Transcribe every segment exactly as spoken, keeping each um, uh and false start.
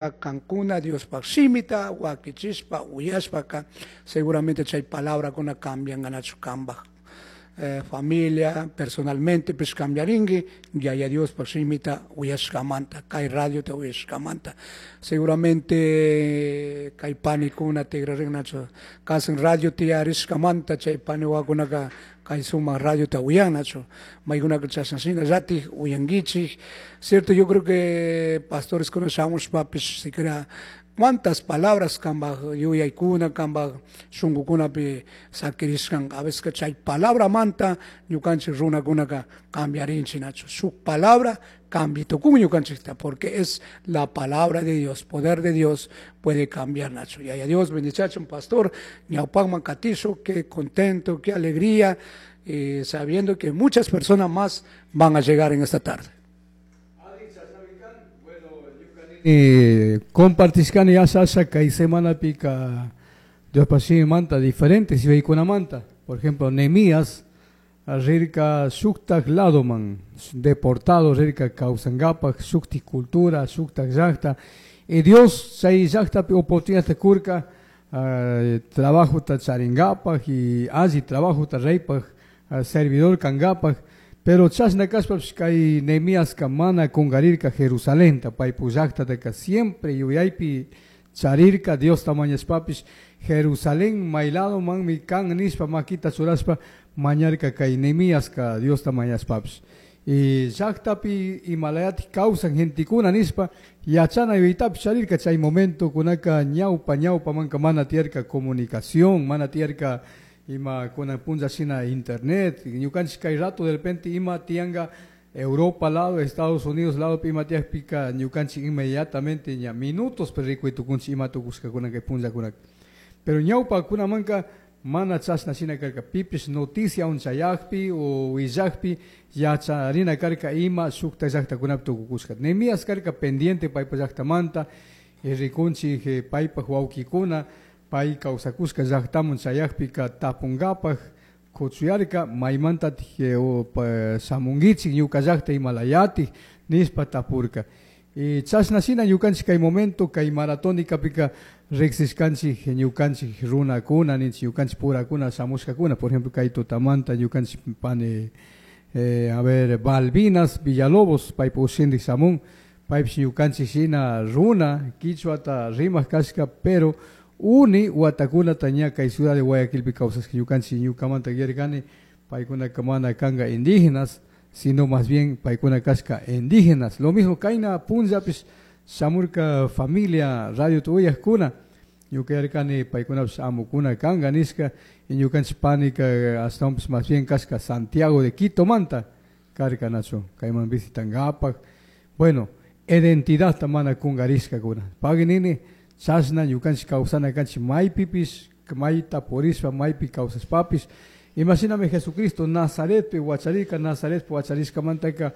Kankuna Diospaj shimita wakichishpa uyashpaka seguramente chay palabrakuna cambianganachu kambaj eh, familia personalmente pish cambiarinki Yaya Diospaj shimita uyashkamanta kay radiota uyashkamanta seguramente kay panikuna tikrarinnachu kasan radio tiyarishkamanta chay paniwakunaka kay sumak radiota uyannachu maykunaka chashna shinallatik uyankichik. Cierto, yo creo que pastores kuna shamushpapish siquiera cuántas palabras kambaj yuyaykuna kambaj shunkukunapi sakirishkan a veces chay palabramanta ñukanchik runakunaka cambiarinchik nachu shuk palabra cambia tukun ñukanchikta porque es la palabra de Dios, poder de Dios puede cambiar nachu. Yaya Dios bendiciachun pastor ñawpakman katisho, qué contento, qué alegría, eh, sabiendo que muchas personas más van a llegar en esta tarde. Eh, compartishkani asha asha kay semanapika Diospaj shimimanta diferentes yuyaykunamanta. Por ejemplo, Nehemías rirka shuktak ladoman deportado rirka kawsankapak shuktik cultura shuktak llakta y Dios chay llaktapi oportunidadta kurka uh, trabajota charinkapak y alli trabajota reypaj uh, servidor kankapak. Pero chashna kashpapish kay Nehemiaska mana kungarirka Jerusalenta paypuk llaktataka siempre yuyaypi charirka Diosta mañashpapish Jerusalén mayladomanmi kan nishpa makita churashpa mañarka kay Nehemiaska Diosta mañashpapish. Y llaktapi imalayatik kawsan gentekuna nishpa yachana yuyaytapish charirka chay momento kunaka ñawpa ñawpamanka mana tiyarka comunicación, mana tiyarka ima kunan punlla shina internet, ñukanchik kay rato de repente ima tianga Europa lado, Estados Unidos lado ima tiyakpika ñukanchik inmediatamente ña minutos rikuy tukunchik ima tukushkakuna kay punllakunaka. Pero ñawpa kunamanka mana chashna shina karka pipish noticia unchayakpi o willakpi yacharina karka ima shukta llaktakunapi tukukushka. Nehemías karka pendiente paypa llaktamanta y rikunchik paypaj wawkikuna pay kawsakushka llaktaman chayakpika tapunkapak kuchuyarka maymantatik shamunkichik ñuka llakta imalayatik nishpa tapurka. Y chashna shina ñukanchik kay momento kay maratonikapika riksishkanchik ñukanchik runakuna ninchik ñukanchik purakuna shamushkakuna. Por ejemplo kay tutamanta ñukanchik pani eh, a ver Balbinas Villalobos paypa ushindik shamun paypish ñukanchik shina runa kichwata rimak kashka pero uni watakunata ña kay ciudad de Guayaquilpi kawsashka ñukanchik ñukamanta yarkani paykunaka mana kanka indígenas sino más bien paykuna kashka indígenas. Lo mismo kayna punllapish shamurka familia radio tuyajkuna ñuka yarkani paykunapish amukuna kanka nishka y ñukanchik panika ashtawanpish más bien kashka Santiago de Quito manta karka nachu kayman visitankapak. Bueno, identidadta mana kungarishkakuna pagui nini chashna ñukanchik kawsana kanchik maypipish mayta purishpa maypi kawsashpapish. Imashinami Jesucristo Nazaretpi wacharirka Nazaretpi wacharishkamantaka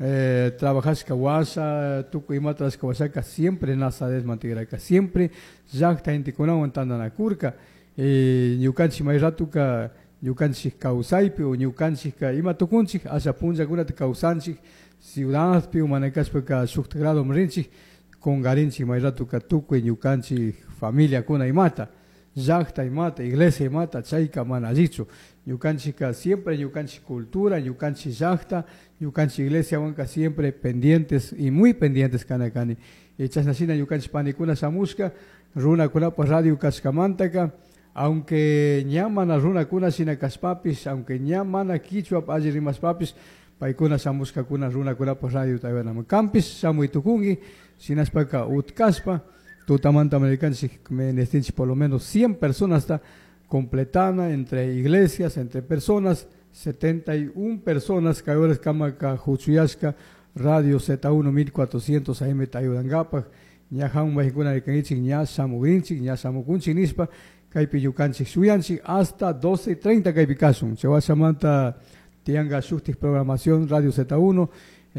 eh, trabajashka washa tukuy imata rashka washaka siempre Nazaretman tigrarka siempre llakta gentekunawan tantanakurka. Eh, ñukanchik may ratuka ñukanchik kawsaypi o ñukanchikka ima tukunchik asha punllakunata kawsanchik ciudadpi o mana kashpaka shukta gradoman rinchik kungarinchik may ratuka tukuy ñukanchik familiakuna imata llakta imata iglesia imata chayka mana allichu ñukanchikka siempre ñukanchik cultura ñukanchik llakta ñukanchik iglesiawanka siempre pendientes y muy pendientes kana kani. Y chashna shina ñukanchik panikuna shamushka runakunapaj radio kashkamantaka aunque ña mana runakuna shina kashpapish aunque ña mana kichwa alli rimashpapish paykuna shamushkakuna runakunapaj radio tayanaman kanpish shamuy tukunki shinashpaka utkashpa tutamanta americanchik menestinchik por lo menos cien personas hasta completana entre iglesias, entre personas, setenta y una personas que ahora kamaka huchuyashka Radio Z uno mil cuatrocientos A M tayudankapak ña hamun wajikuna rikankichik ña shamugrinchik ña shamukunchik nishpa kaypi ñukanchik shuyanchik hasta doce y treinta kaypi kashun chawashamanta tiyanka shuktik programación Radio Z uno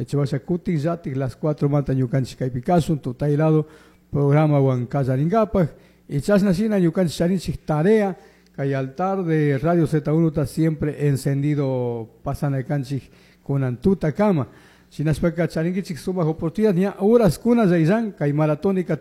chawasha kutin llatik las cuatro manta ñukanchik kaypi kashun tutaylado programa wan kallarinkapak y chashna shina ñukanchik charinchik tarea kay altar de Radio Z uno está siempre encendido pasana kanchik kunan tuta kama. Shinashpaka charinkichik sumak oportunidad ña horas kuna illan kay maratónica.